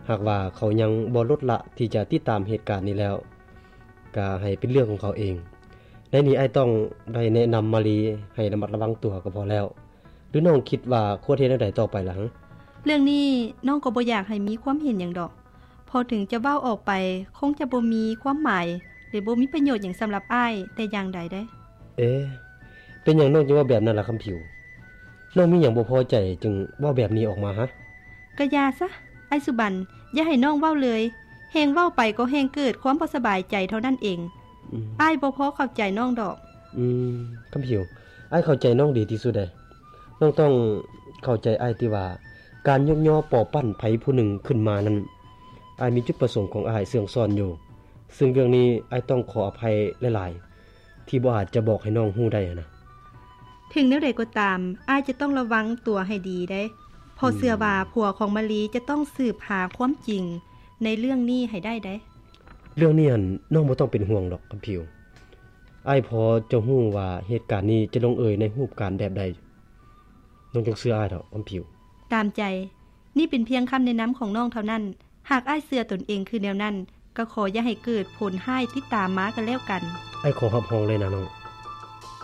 ຫາກວ່າເຂົາຍັງບໍ່ລົດລະທີ່ຈະຕິດຕາມເຫດການນີ້ແລ້ວ ກໍໃຫ້ເປັນເລື່ອງຂອງເຂົາເອງ. ໃນນີ້ອ້າຍຕ້ອງໄດ້ແນະນຳມາລີໃຫ້ລະມັດລະວັງຕົວກໍພໍແລ້ວ. ຫຼືນ້ອງຄິດວ່າຄວນເຮັດແນວໃດຕໍ່ໄປລະ? ເລື່ອງນີ້ນ້ອງກໍບໍ່ຢາກໃຫ້ມີຄວາມເຫັນຫຍັງດອກ. ເພາະເຖິງຈະເວົ້າອອກໄປ ຄົງຈະບໍ່ມີຄວາມໝາຍ ແລະ ບໍ່ມີປະໂຫຍດຫຍັງສຳລັບອ້າຍແຕ່ຢ່າງໃດເດ້. ເອ ເປັນຫຍັງນ້ອງຈຶ່ງເວົ້າແບບນັ້ນລະຄຳຜິວ? ນ້ອງມີຫຍັງບໍ່ພໍໃຈຈຶ່ງເວົ້າແບບນີ້ອອກມາຫະ? ກະຢ່າຊະ ອ້າຍສຸບັນ, ຢ່າໃຫ້ນ້ອງເວົ້າເລີຍ. ແຮ່ງເວົ້າໄປກໍແຮ່ງເກີດຄວາມບໍ່ສະບາຍໃຈເທົ່ານັ້ນເອງ. ອືມ ອ້າຍບໍ່ພໍເຂົ້າໃຈນ້ອງດອກ. ອືມ ຄຳຜິວ, ອ້າຍເຂົ້າໃຈນ້ອງດີທີ່ສຸດເດ້. ນ້ອງຕ້ອງເຂົ້າໃຈອ້າຍທີ່ວ່າ ການຍົກຍໍປໍ້ວປັ້ນໃຜຜູ້ໜຶ່ງຂຶ້ນມານັ້ນ ອ້າຍມີຈຸດປະສົງຂອງອ້າຍເຊື່ອງຊ້ອນຢູ່. ເຊິ່ງເລື່ອງນີ້ອ້າຍຕ້ອງຂໍອະໄພຫຼາຍໆ ທີ່ບໍ່ອາດຈະບອກໃຫ້ນ້ອງຮູ້ໄດ້ຫັ້ນນະ. ເຖິງແນວໃດກໍຕາມ, ອ້າຍຈະຕ້ອງລະວັງຕົວໃຫ້ດີເດ້, ເພາະເຊື່ອວ່າ ອືມ ຜົວຂອງມາລີຈະຕ້ອງສືບຫາຄວາມຈິງໃນເລື່ອງນີ້ໃຫ້ໄດ້ເດ້. ເລື່ອງນີ້ຫັ້ນນ້ອງບໍ່ຕ້ອງເປັນຫ່ວງດອກຄຳຜິວ. ອ້າຍພໍຈະຮູ້ວ່າເຫດການນີ້ຈະລົງເອີຍໃນຮູບການແບບໃດ. ນ້ອງຈົ່ງເຊື່ອອ້າຍເຖາະຄຳຜິວ. ຕາມໃຈ. ນີ້ເປັນພຽງຄຳແນະນຳຂອງນ້ອງເທົ່ານັ້ນ. ຫາກອ້າຍເຊື່ອຕົນເອງຄືແນວນັ້ນ, ກໍຂໍຢ່າໃຫ້ເກີດຜົນຮ້າຍຕິດຕາມມາກໍແລ້ວກັນ. ອ້າຍຂໍຮັບຮອງເລີຍນະນ້ອງ.